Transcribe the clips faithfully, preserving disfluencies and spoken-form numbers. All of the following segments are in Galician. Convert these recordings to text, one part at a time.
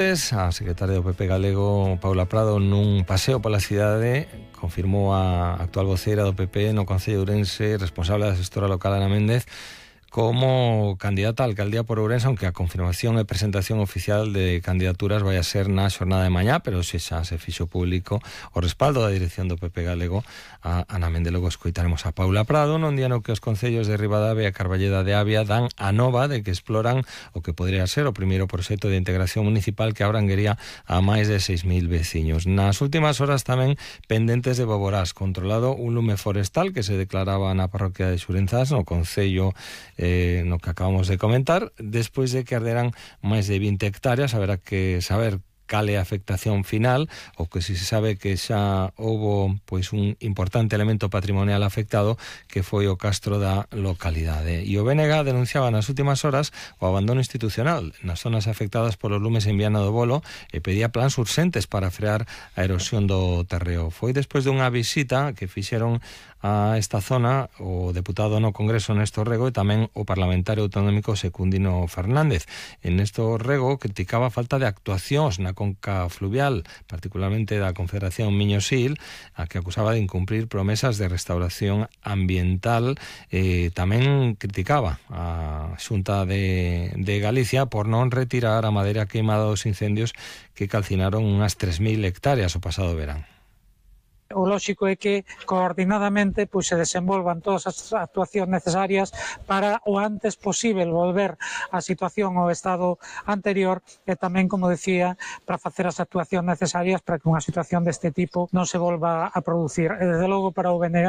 A secretaria do P P galego, Paula Prado, nun paseo pola cidade, confirmou a actual voceira do P P no Concello de Ourense, responsable da xestora local Ana Méndez, como candidata a alcaldía por Ourense, aunque a confirmación e presentación oficial de candidaturas vai a ser na xornada de mañá, pero se xa se fixo público o respaldo da dirección do P P galego a Ana Méndez. Logo escoitaremos a Paula Prado nun día no que os concellos de Ribadavia e Carballeda de Avia dan a nova de que exploran o que podría ser o primeiro proxecto de integración municipal que abranguería a máis de seis mil veciños. Nas últimas horas tamén pendentes de Boborás, controlado un lume forestal que se declaraba na parroquia de Xurenzás, no concello Eh, no que acabamos de comentar, despois de que arderan máis de vinte hectáreas. Haberá que saber cal é a afectación final, o que si se sabe que xa houbo pois un importante elemento patrimonial afectado, que foi o castro da localidade. E o B N G denunciaba nas últimas horas o abandono institucional nas zonas afectadas polos lumes en Viana do Bolo e pedía plans urxentes para frear a erosión do terreo. Foi despois dunha visita que fixeron a esta zona o deputado no Congreso Néstor Rego e tamén o parlamentario autonómico Secundino Fernández. En Néstor Rego criticaba a falta de actuacións na conca fluvial, particularmente da Confederación Miño-Sil, a que acusaba de incumprir promesas de restauración ambiental. Eh, tamén criticaba a Xunta de, de Galicia por non retirar a madeira queimada dos incendios que calcinaron unhas tres mil hectáreas o pasado verán. O lóxico é que coordinadamente pois, se desenvolvan todas as actuacións necesarias para o antes posible volver a situación ao estado anterior e tamén, como decía, para facer as actuacións necesarias para que unha situación deste tipo non se volva a producir. E, desde logo, para o B N G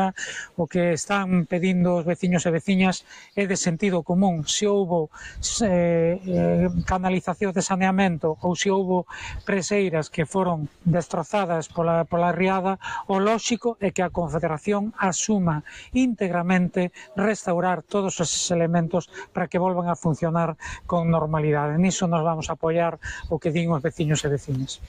o que están pedindo os veciños e veciñas é de sentido común. Se houbo eh, eh, canalización de saneamento ou se houbo preseiras que foron destrozadas pola, pola riada, o lóxico é que a Confederación asuma íntegramente restaurar todos esos elementos para que volvan a funcionar con normalidade. Niso nos vamos a apoiar o que din os veciños e veciñas.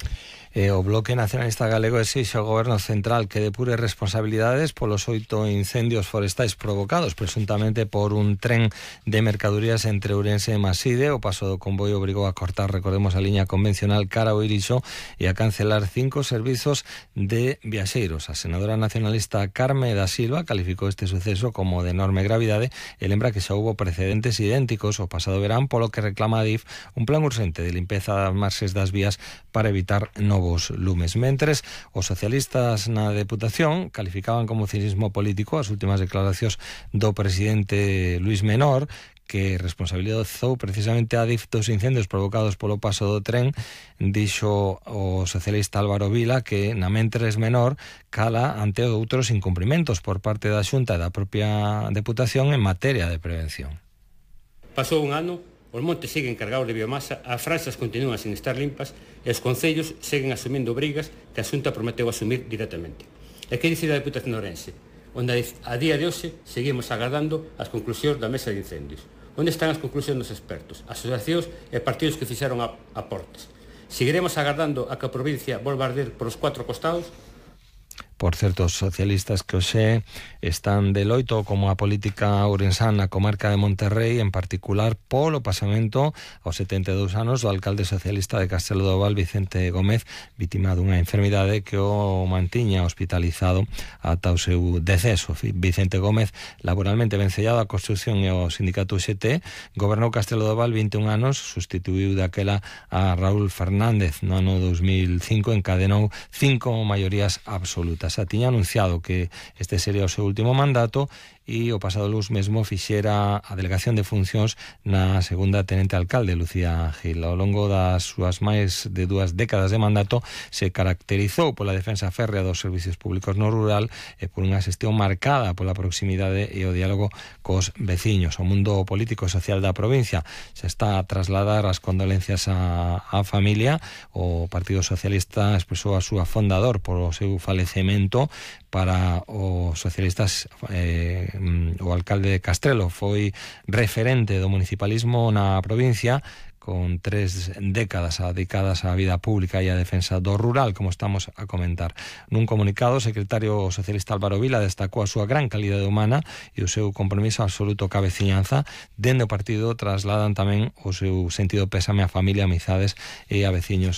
E o Bloque Nacionalista Galego exixe ao Goberno Central que depure responsabilidades polos oito incendios forestais provocados presuntamente por un tren de mercadorías entre Ourense e Maside. O paso do convoio obrigou a cortar, recordemos, a liña convencional cara ao Irixo e a cancelar cinco servizos de viaxeiros. A senadora nacionalista Carme da Silva calificou este suceso como de enorme gravidade e lembra que xa houbo precedentes idénticos o pasado verán, polo que reclama a D I F un plan urxente de limpeza das marxes das vías para evitar novos lumes. Mentres, os socialistas na Deputación calificaban como cinismo político as últimas declaracións do presidente Luís Menor, que responsabilizou precisamente a D I F dos incendios provocados polo paso do tren. Dixo o socialista Álvaro Vila que na Mentres Menor cala ante outros incumprimentos por parte da Xunta e da propia Deputación en materia de prevención. Pasou un ano, os montes seguen cargados de biomasa, as franxas continúan sin estar limpas e os concellos seguen asumindo obrigas que a Xunta prometeu asumir directamente. E que dicir da Deputación de Ourense, onde a día de hoxe seguimos agardando as conclusións da mesa de incendios? Onde están as conclusións dos expertos, asociacións e partidos que fixeron aportes? Seguiremos agardando a que a provincia volva a arder por os cuatro costados? Por certo, os socialistas que hoxe están de loito como a política ourensana na comarca de Monterrey, en particular polo pasamento aos setenta e dous anos do alcalde socialista de Castelo do Val, Vicente Gómez, vítima dunha enfermidade que o mantiña hospitalizado ata o seu deceso. Vicente Gómez, laboralmente vencellado á construcción e ao sindicato U X T, gobernou Castelo do Val vinte e un anos, sustituiu daquela a Raúl Fernández. No ano dos mil cinco encadenou cinco maiorías absolutas. Xa tiña anunciado que este sería o seu último mandato e o pasado luz mesmo fixera a delegación de funcións na segunda tenente alcalde, Lucía Gil. Ao longo das súas máis de dúas décadas de mandato se caracterizou pola defensa férrea dos servicios públicos no rural e por unha xestión marcada pola proximidade e o diálogo cos veciños. O mundo político e social da provincia se está a trasladar as condolencias á, á familia. O Partido Socialista expresou a súa fondador polo seu falecemento. Para os socialistas, eh, o alcalde de Castrelo foi referente do municipalismo na provincia, con tres décadas dedicadas á vida pública e á defensa do rural, como estamos a comentar. Nun comunicado, o secretario socialista Álvaro Vila destacou a súa gran calidade humana e o seu compromiso absoluto ca veciñanza. Dende o partido trasladan tamén o seu sentido pésame á familia, amizades e a veciños